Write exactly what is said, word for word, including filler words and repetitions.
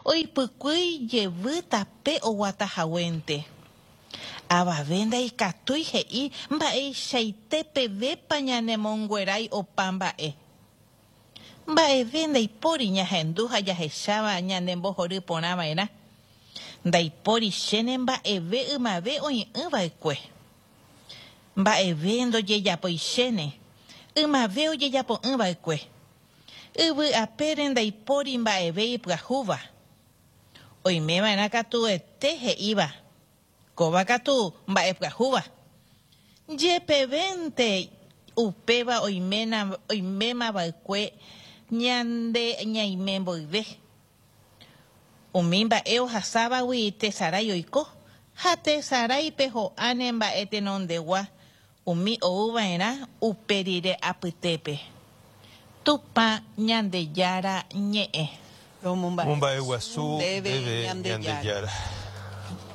Oipykúi jevy tape oguatahaguénte. Avave ndaikatúi he'i mba'eichaite pevépa ñanemonguerái opa mba'e. Mba'eve ndaipóri ñahendu ha jahecháva ñanembohoryporãva'erã. Ndaiporichéne mba'eve ymave oĩ'ỹva'ekue. Mba'eve ndojejapoichéne ymave ojejapo'ỹva'ekue. Yvy apére ndaipóri mba'eve ipyahúva. Oimeva'erã katuete he'íva kóva katu mba'epyahúva. Jepevénte upéva oimémava'ekue ñande ñaime mboyve. Umi mba'e ohasávagui tesarái oiko ha tesaráipe ho'áne mba'e tenondegua umi ouva'erã upe rire apytépe. Tupã Ñandejára ñe'ẽ. Romomba'eguasu ndéve Ñandejára.